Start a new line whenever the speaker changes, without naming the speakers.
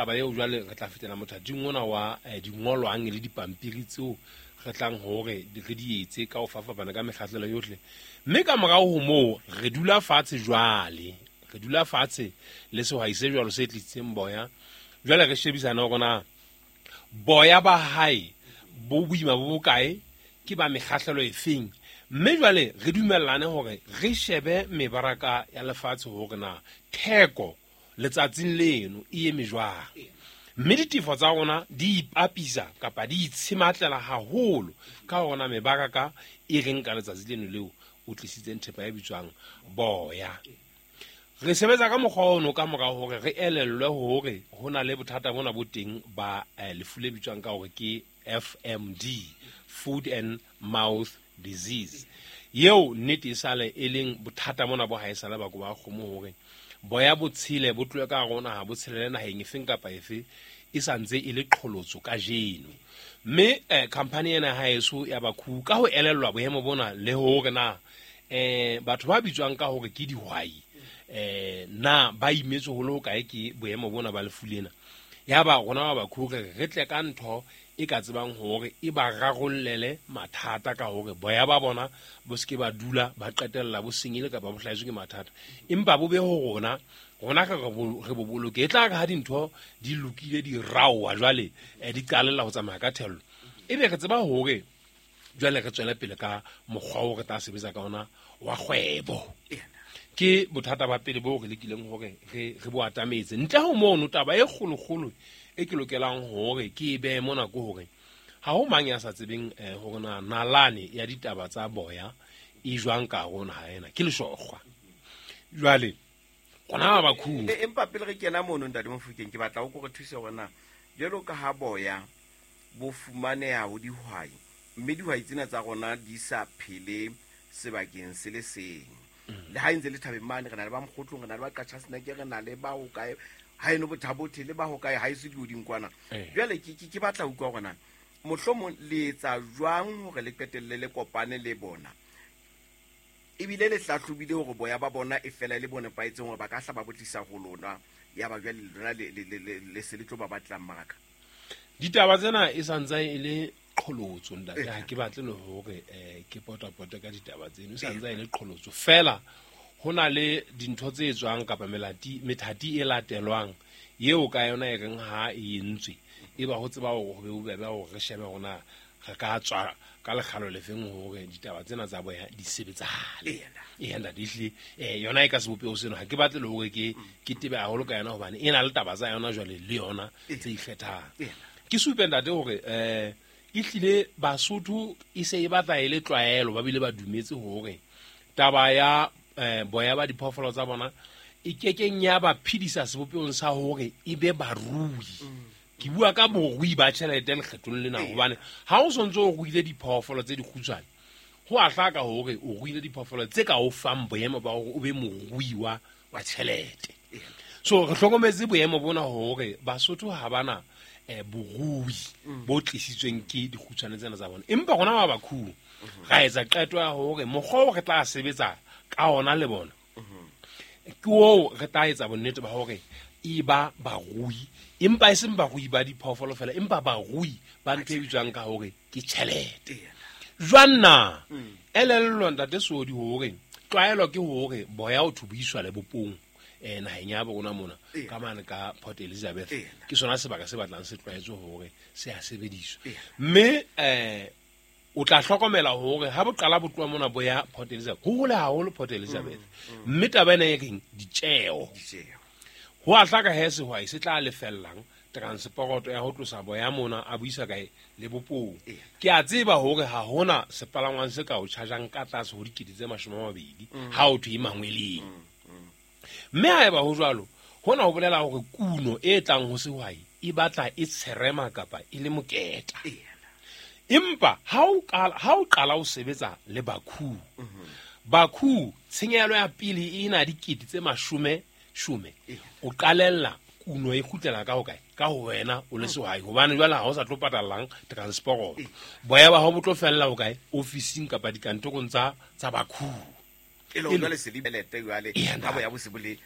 Taba eo jwale re tla fetela mothating ona wa dingolwang le dipampiri tseo re tlang hore re di etse ka ho fapafapana ka mekgahlelo yohle. Mme ka morao ho moo re dula fatshe jwale, re dula fatshe le sehwai se jwalo se tlisitseng boya. Jwale re shebisana hore na boya ba hae bo boima bo bokae, ke ba mekgahlelo efeng. Mme jwale re dumellane hore re shebe mebaraka ya lefatshe hore na theko letsatsing leno e eme jwang. Mme ditefo tsa rona di ipapisa kapa di itshematlela haholo ka hore na mebaraka e reng ka letsatsi leno leo o tlisitseng thepa e bitswang boya. Re sebetsa ka mokgwa ono ka mora hore re elellwe hore ho na le bothata bona bo teng ba lefu le bitswang ka hore ke FMD, Food and Mouth Disease. Eo nnete e sale e leng bothata mona bo haesale ba koba kgomo hore boya bo tshele bo tlohe ka hare ho naha bo tshelele naheng efeng kapa efe e sa ntse e le qholotso kajeno. Mme khampani ena ya haeso ya Bakhu ka ho elellwa boemo bona le hore na batho ba bitswang ka hore ke dihwai na ba imetswe ho le hokae ke boemo bona ba lefu lena. Ya ba rona ba Bakhu re re tle ka ntho e ka tsebang hore e ba rarollele mathata ka hore boya ba bona bo se ke ba dula ba qetella bo senyehile kapa bo hlahetswe ke mathata, empa bo be ho rona, rona re re bo boloke. E tla re ha dintho di lokile di raowa jwale, di qalella ho tsamaya ka thello, ebe re tseba hore jwale re tswele pele ka mokgwa o re tla sebetsa ka ona wa kgwebo. Ke bothata ba pele bo re lekileng hore re bo atametse. Ntle ho mono, taba e kgolokgolo e ke lokelang hore ke e behe mona ke hore ha ho mang ya sa tsebeng hore na nalane ya ditaba tsa boya e jwang ka hare ho naha ena, ke leshokgwa. Jwale rona ba Bakhu.
Empa pele re kena mono, Ntate Mofokeng, ke batla o ko re thuse hore na jwalo ka ha boya bo fumaneha ho dihwai, mme dihwai tsena tsa rona di sa phele sebakeng se le seng. Le ha e ntse le thabeng mane, re na le ba Mokgotlong, re na le ba Qachaseneke, re na le ba hokae, ha eno Bothabothe, le ba hokae, ha eso dioding kwana. Jwale ke batla ho utlwa hore na mohlomong le etsa jwang hore le qetelle le kopane le bona, ebile le hlahlobile hore boya ba bona e fela e le bo nepahetseng hore ba ka hla ba bo tlisa ho lona, ya ba jwale lona le se le tlo ba batlang mmaraka.
Ditaba tsena e santse e le qholotso, ntate. Ha ke batle le hore ke potapote ka ditaba tseno, e santse e le qholotso fela. Ho na le dintho tse etswang kapa methati e latelwang eo ka yona e reng ha e entswe e ba ho tseba hore ho be bobebe hore re shebe hore na re ka tswa ka lekgalo lefeng hore ditaba tsena tsa boya di sebetsahale. Eya, ntate, ehlile, yona e ka sebopeho seno ha ke batle le hore ke tebe haholo ka yona hobane e na le taba tsa yona jwale le yona tse ikgethang. Ke supe, ntate, hore ehlile Basotho e se e batla e le tlwaelo, ba bile ba dumetse hore taba ya boya ba diphoofolo tsa bona e kekeng ya ba phedisa sebopehong sa hore e be barui. Ke bua ka borui ba tjhelete lekgethong lena, hobane ha o sontse o ruile diphoofolo tse dikgutshwane, ho a hlaka hore o ruile diphoofolo tse ka o fang boemo ba hore o be morui wa tjhelete. So re hlokometse boemo bona hore Basotho ha bana borui bo tlisitsweng ke dikgutshwane tsena tsa bona. Empa rona ba Bakhu ra etsa qeto ya hore mokgwa o re tla sebetsa ka ona le bona ke oo re tla etsa bonnete ba hore e ba barui, empa e seng barui ba diphoofolo fela, empa barui ba ntho e bitswang ka hore ke tjhelete. Jwang na? Elellwa, ntate Sodi, hore tlwaelo ke hore boya o thubiswa lebopong naheng ya bo rona mona ka mane ka Port Elizabeth. Ke sona sebaka se batlang se tlwaetswe hore se a sebediswa. Mme o tla hlokomela hore ha bo qala bo tloha mona bo ya Port Elizabeth, ho hole haholo Port Elizabeth. Mme taba ena e reng ditjeo. Ho a hlaka he sehwai se tla lefellang transporoto ya ho tlosa boya mona a buisa kae lebopong. Ke a tseba hore ha hona sepalangwang se ka o chargeang ka tlase ho dikete tse 20 ha o thwe mangweleng. Mme haeba ho jwalo, hona ho bolela hore kuno e tlang ho sehwai e batla e tsherema kapa e le moketa. Empa ha o qala o sebetsa le Bakhu, Bakhu tshenyehelo ya pele e na dikete tse mashome shome, o qalella kuno e kgutlela ka hokae? Ka ho wena o le sehwai, hobane jwale ha o sa tlo patallang transport. Boya ba hao bo tlo fella hokae? Ofising kapa dikantorong tsa Bakhu.
E le hore jwale se le tjhelete jwale, ha boya bo se bo le